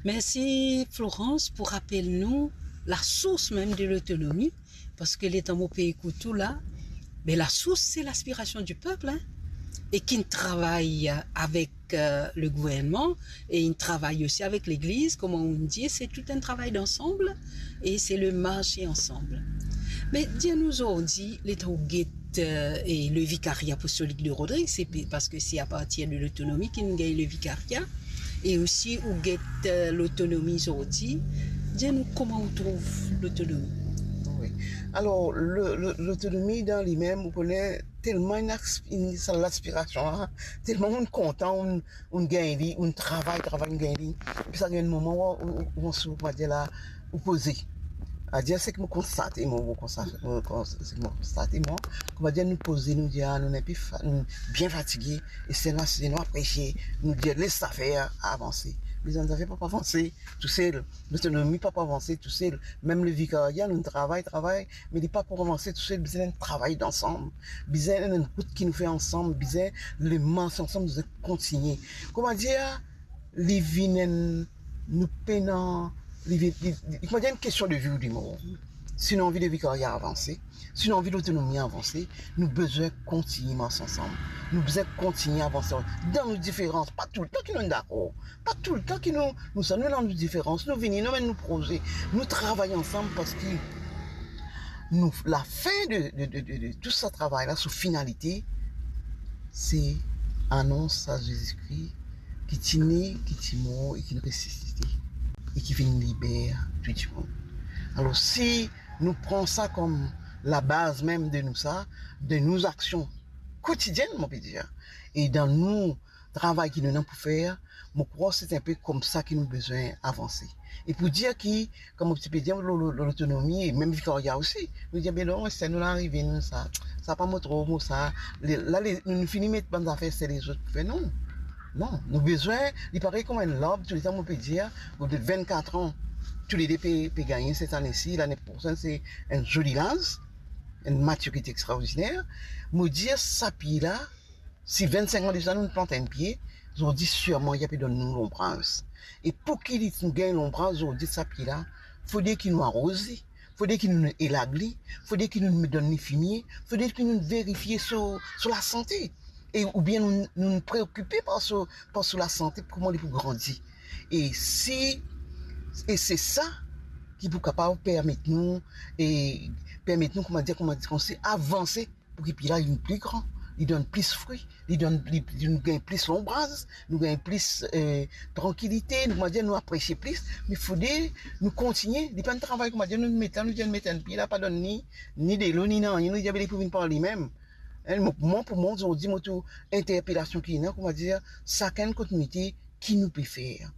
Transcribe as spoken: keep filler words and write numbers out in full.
Mersi Florence pou rapel nou lasours mem de lotonomi, parski letan mo pe ekout ou la, be lasours se laspirasion di pep, hein, e ki'nn travay avek, euh, le gouvernman e inn travay osi avek legliz, kouma ou'nn dir, se tou enn travay d'ensemble e se le marse ansanm. Me dir nou zordi, letan ou get, euh, e le Vicariat Apostolique de Rodrigues, se pe-, parski se apartir de lotonomi ki nou gagn le Vicariat, e osi ou get, euh, lotonomi zordi. Dir nou kouma ou trouv lotonomi. Wi. Alor, le, le, lotonomi dan li mem, ou kone, telman inn asp-, inn, sa laspirasion la, telman ou'nn kontan, ou'nn, ou'nn gagn li, ou'nn travay, travay, ou'nn gagn li. Epi sa gagn enn moman ou, ou, ou, ou, kouma dir la, ou poze. Adir, seki mo konstate, mo, mo konstate, mo kons-, seki mo konstate, mo, kouma dir, nou poze, nou dir, ah, nou nepli fa-, nou bien fatige, e sel la, si nou apresie, nou dir, les sa fer, avanse. Me zot zafer pa pou avanse tousel. Lotonomi pa pou avanse tousel. Mem le Vicariat, nou travay, travay, me li pa pou avanse tousel, bizin enn travay dansam, bizin enn rout ki nou fer ansam, bizin le marse ansam, bizin kontigne. Kouma dir, li vinn enn, nou pena, li vinn, li, li, kouma dir, enn kestion de vi ou de mor. Si nou anvi le Vicariat avanse, si nou anvi lotonomi avanse, nou bizin kontigne mars ansam. Nou bizin kontigne avanse dan nou diferans, pa toultan ki nou dakor, pa toultan ki nou, nou sa, nou ena nou diferans, nou vini, nou amenn nou proze, nou travay ansam, parski nou, lafin de, de, de, de, de tou sa travay la, so finalite, se anons sa Zezi Kri ki ti ne, ki ti mor e ki resisite e ki vinn liber tou dimoun. Alor, si nou pran sa kom labaz mem de nou sa, de nou aksion kotidienn, mo pe dir, e dan nou travay ki nou ena pou fer, mo krwar se enpe koumsa ki nou bizin avanse. E pou dir ki, kouma ti pe dir, lo, lo, lo, lotonomi, e mem Vicariat osi, nou dir, be non, se nou la arive, nou sa, sa pa mo tro, mo sa, le, la, le, nou, nou fini met bann zafer se lezot pou fer, non. Non, nou bizin, li parey kouma enn larb, touletan mo pe dir, au bout de vennkat an, toulede pe, pe gagne set ane si, lane prosenn se enn zoli laz, enn matirite extraordiner. Mo dir sa pie la, si vennsink an de sa nou plant enn pie, zordi sirman li pe donn nou lonbraz. E pou ki li, nou gagn lonbraz zordi sa pie la, fode ki nou aroz li, fode ki nou elag li, fode ki nou donn li fimie, fode ki nou verifie so, so lasante. E oubien nou, nou preokipe par so, par so lasante, kouma li pou grandi. E si, e se sa ki pou kapav permet nou, e permet nou, kouma dir, kouma dir, koumsa avanse pou ki pie la vinn pli gran, li donn plis fri, li donn, li, li, nou gagn plis lonbraz, nou gagn plis, eh, trankilite, nou, kouma dir, nou apresie plis, me fode nou kontigne, li pa enn travay, kouma dir, nou met la, nou dir, nou met enn pie la, pa donn ni, ni delo, ni nanye, nou dir, be li pou vinn par limem. Hein, mo, mwa, pou mwa, zordi, mo tou interpelasion ki ena, kouma dir, sakenn kot nou ete, ki nou pe fer.